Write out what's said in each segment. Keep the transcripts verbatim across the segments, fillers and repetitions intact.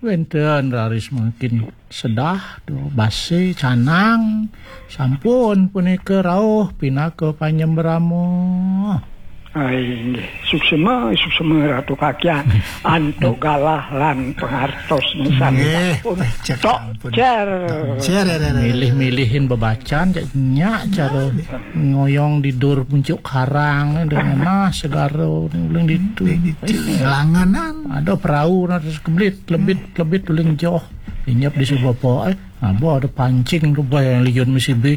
Wénten raris mangkin sedah, duh, basa canang, sampun punika rauh pinaka panyembrama. Ai, inggih. Suksema, suksema Ratu Kakian. Antuk galah lan pangartos nisan. Nggih, sampun. Cek Tok ampun. Cer. Cer, ya, ya, ya, ya. Milih-milihin bebacan, cek nyak cara ngoyong di dur puncuk karang, dengan nah segara uling ditu. Uling ditu, langanan. Ada perahu, nah, terus keblit, lebit, lebit, uling joh. Inyap di sebapa, eh, apa ada pancing tu, bah, yang liun mesti bi.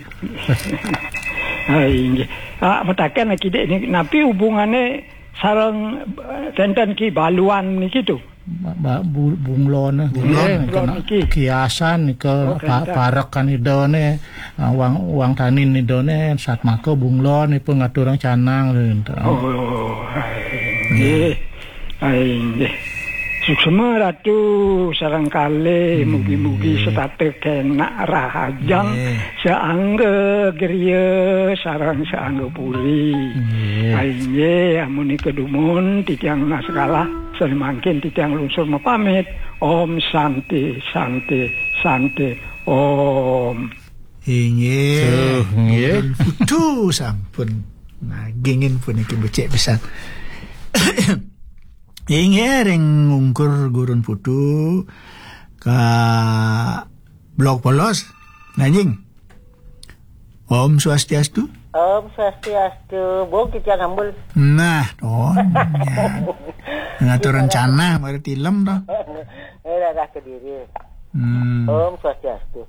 Ai, inggih. Ah, mataken lagi, Dik, ni, napi hubungane sareng, eh, tenten Ki Baluan niki tu? Ba-, ba-, bu-, bunglon, eh, bunglon. Bunglon niki. Kiasan nika, oh, pa-, tenten. Parekan idane, ah, wang, wang tanin idane, satmaka bunglon ipun ngaturang canang, gitu. Oh, ai, inggih. Ai, inggih. Suksema Ratu sareng kalih, hmm, mugi-mugi setata kenak rahajeng, nggih, saangga griya sareng saangga puri. Nggih. Ai, inggih, amunika dumun titiang nunas galah, sané mangkin titiang lungsur mapamit. Om Santi, Santi, Santi, Om. Inggih. Tuh, nggih. Gurun Putu sampun nagingin puniki becik pisan. Inggih, ring ungkur Gurun Putu ka Blog Polos. Nanjing. Om Swastiastu. Om Swastiastu. Bung, titiang ambul. Nah, to. Ngatur rencana, mari tilem to. Eh, dadah Kediri. Hmm. Om Swastiastu.